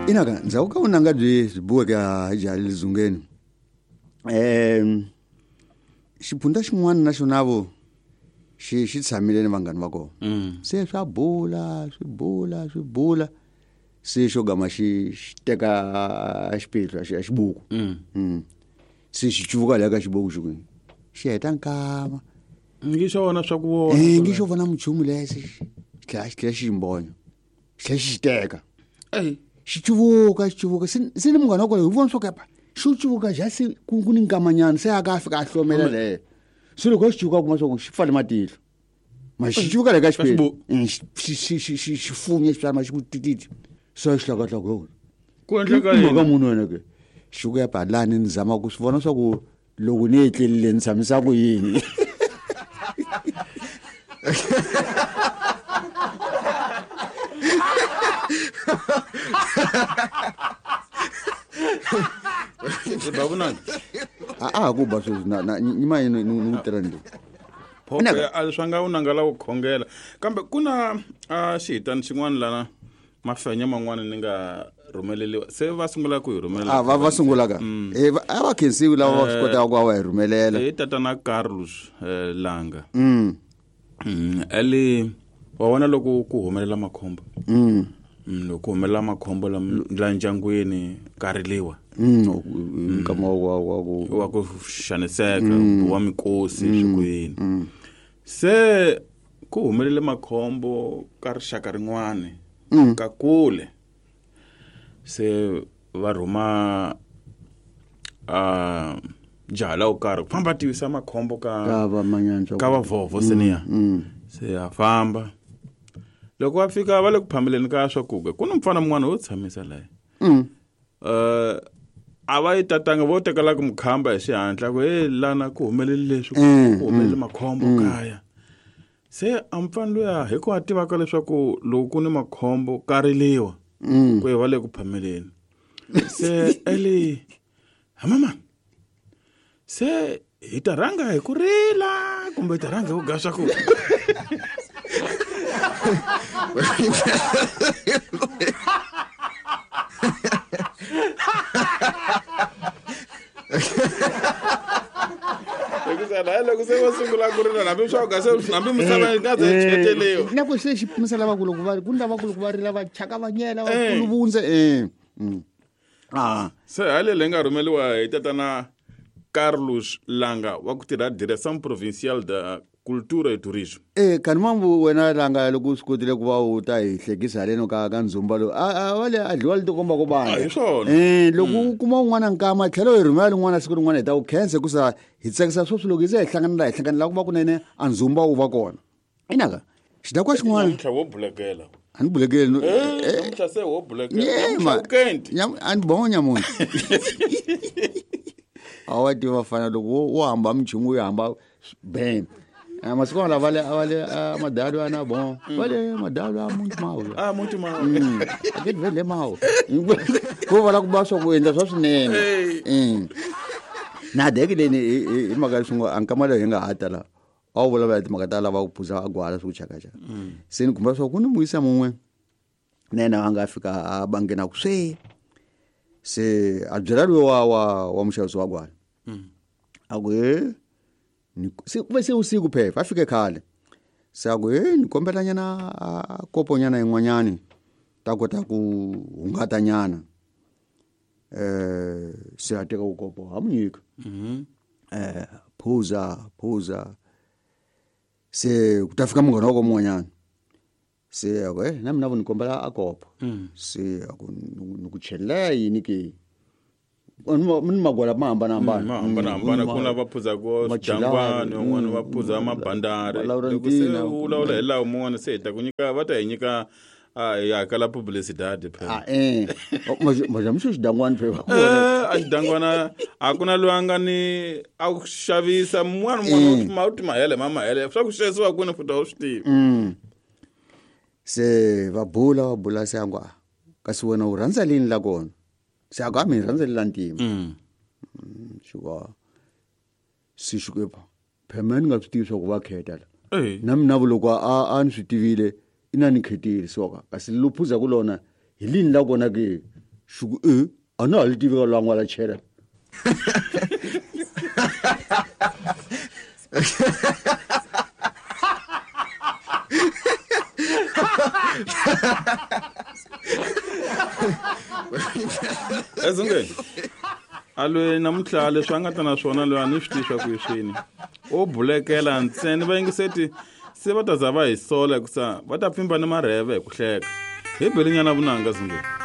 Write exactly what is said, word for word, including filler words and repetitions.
Inaka ndzhaku ka vunanga byi byi buweke hi jaha le Dzungeni um xiphunta xin'wana na xona vo xi xi tshamile ni vanghani va kona se swa bula swi bula swi bula se xo gama xi xi teka xipetlu a xibuku se xi cuvuka laha ka xibuku xi ku xi heta nkama ngi xo vona swa ku vona eh ngi xo vona muchumu lexi xi tlhela xi tlhela xi mbonya xi tlhela xi xi teka eh xi cuvuka xi cuvuka se se ni munghana wa kona hi vona swo kepa xi cuvuka ja se ku ku ni nkamanyana se a ka fika a hlomela leyo se loko xi cuvuka kuma swa ku xi pfale matihlo ma xi cuvuka le ka xipetlu xi xi xi xi xi funya xi pfala ma xi ku tititi se xi hlakahlaka yona ku endleka yini mhaka munhu wena ke xi ku ya balani ni zama ku swi vona swa ku loko ni etlelile ni tshamisa ku yini babunani a a ku ba sweswi na na nyima yini ni ni tirha ndlu phoko a swa nga unanga la ku khongela kambe ku na a xihitani xin'wana lana mafenya man'wana ni nga rhumeleliwa se va sungula ku hi rhumelela a va va sungula ka eh a va khensiwi lava va swi kotaka ku va va hi rhumelela i tatana Carlos Langa mm ali wa vona loko ku humelela makhombo mm loko ku humelela makhombo la la ndyangwini ka riliwa mm nkama wa wa ku wa ku xaniseka wa mikosi swi ku yini se ku humelele makhombo ka rixaka rin'wana ka kule se va rhuma a jaha la wo karhi ku famba tivisa makhombo ka ka va manyantswa ka vavhovho seniya se a famba loko va fika va le ku phameleni ka swakudya ku ni mfana mun'wana wo tshamisa laye mm uh a va yi tatanga vo tekela ku mukhamba hi xihatla ku hey lana ku humelele leswi ku humelele makhombo kaya se a mfana luya hi ku a tivaka leswaku loko ku ni makhombo ka riliwa ku va le ku phameleni se eli hamama se hi ta rhanga hi ku rila kumbe hi ta rhanga hi ku ga swakudya loko se va sungula ku rila hambi swa ku se hambi misava yi nga ze cheteliwa na ku se xi pimisa lavakulu ku va ku ni lavakulu ku va rila va chaka va nyela va kuluvundze eh ah se hale leyi nga rhumeliwa hi tatana Carlos Langa wa ku tirha Direção Provincial da Cultura e Turismo eh kani mambu wena Langa loko u swi kotile ku va u ta hi hlekisa haleno ka ka ndzumba lowu a va le a dliwa li tikomba ko bana hi swona eh loko u kuma un'wana nkama tlhelo hi rhumela lin'wana siku rin'wana hi ta ku khensa hikusa hi tsakisa sweswi loko hi ze hi hlangana la hi hlangana la ku va kunene a ndzumba wu va kona inaka xidakwa xin'wana namuntlha wo bulekela a ni bulekeli namuntlha se wo bulekela a ni bonya munhu a wa tiva fana loko wo hamba minchumu wo hamba bam masiku lava va le va le madalo ana bon va le madalo a muntu mawu a muntu mawu a ke vele mawu ko va la ku ba swa ku endla swa swinene na deke leni hi mhaka leswi a nkama leyi hi nga ha ta la a wu vulavula hi timhaka ta lava ku phuza a gwala swi ku chakachaka se ni kumba swa ku ni muyisa mun'we na yena a nga fika a bangena ku swe se a byela loyi wa wa wa muxavisi wa gwala a ku he se ku ve se usiku phepha a fike khale se a ku he ni kombela nyana a kopo nyana yin'wanyani ta kota ku hungata nyana eh se a teka ukopo ha mu nyika eh phuza phuza se ku ta fika munghana wa ko mun'wanyana se a ku eh na mina vo ni kombela a kopo se a ku ni ku chelela yini ke ni magwala ma hambanahambana ma hambanahambana ku na va phuzaka swidangwani van'wana va phuza mabandari loko se u vulavula hi laha mun'wana se hi ta ku nyika va ta hi nyika a hi hakela publicidade phela a eh majamuxo xidangwani phela eh a xidangwana a ku na loyi a nga ni a ku xavisa mun'wana mun'wana ma u ti mahele ma mahele swa ku xavisiwa kwini futhi a wu swi tivi se va bula va bula se a ngo kasi wena u rhandza lini la kona se a ku a mi rhandza la ntima xi se xikwembu phela mina ni nga swi tivi swa ku va kheta la na mina vu loko a a ni swi tivile ina ni khetile soka kasi lo phuza ku lona hi lini la kona ke Xi ku e a na ha li tivi ka lwangu la chela. Ezungeni a lwe namuntlha leswi a nga ta na swona loyi a ni swi tivi swa ku i swini o bulekela ntsena vayingiseti se va ta za va hi sola hikusa va ta pfimba ni marheve hi ku hleka hi belinyana vunanga Zungeni.